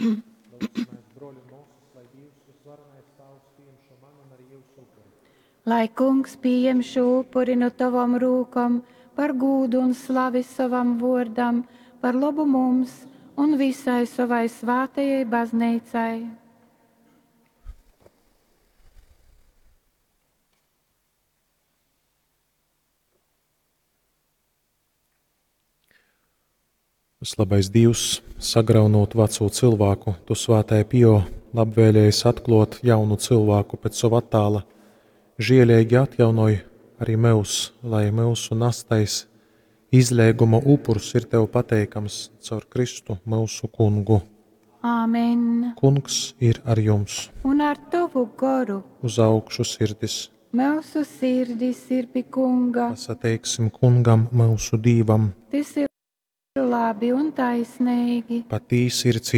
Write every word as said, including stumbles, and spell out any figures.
Lūgsimies, broļi un māsas, lai Dievs visvarenais Tāvs pieņem šo manu un arī jūsu upuri. Lai kungs pieņem šo upuri no tavam rūkam par gūdu un slavi savam vārdam, par labu mums un visai savai svētajai baznīcai. Vislabais Dievs, sagraunot veco cilvēku, tu svētajā Pio labvēlējies atklāt jaunu cilvēku pēc sava attēla. Žēlīgi atjaunoj arī mūs, lai mūsu nastais izlēguma upurs ir tev pateikams caur Kristu mūsu kungu. Āmen. Kungs ir ar jums. Un ar tavu goru Uz augšu sirdis. mūsu sirdis ir pie kunga. Pasateiksim kungam, mūsu dīvam. Tas ir labi un taisnīgi. Patīsi ir